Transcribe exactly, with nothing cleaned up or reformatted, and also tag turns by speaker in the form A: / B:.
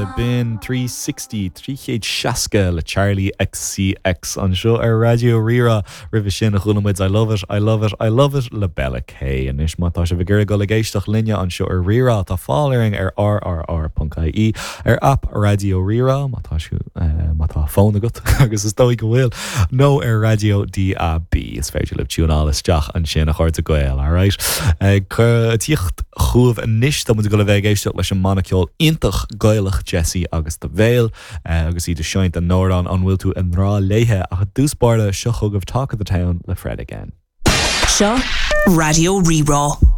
A: B'in three sixty trí chéad seasca le Charli XCX anseo ar Raidió Rí-Rá roimhe sin a chuala muid I love it, I love it, I love it le Bella K. Anois má tá sibh ag iarraidh dul ag éisteacht linne anseo ar Rí-Rá tá fáil orainn ar rrr.ie ar app Raidió Rí-Rá má tá eh, má tá fón agat agus is dóigh go bhfuil nó ar raidió DAB is féidir libh tiúnáil isteach ansin a chairde Gael, alright? Ag tíocht chugaibh anois tá muid ag dul a bheith ag éisteacht leis an mbanna ceoil iontach Gaelach Jessie agus The Veil eh, agus iad ag seinnt an amhrán an bhfuil tú i ngrá léithe ach i dtús báire seo chugaibh Talk of the Town le Fred again.
B: Seo Raidió Rí-Rá.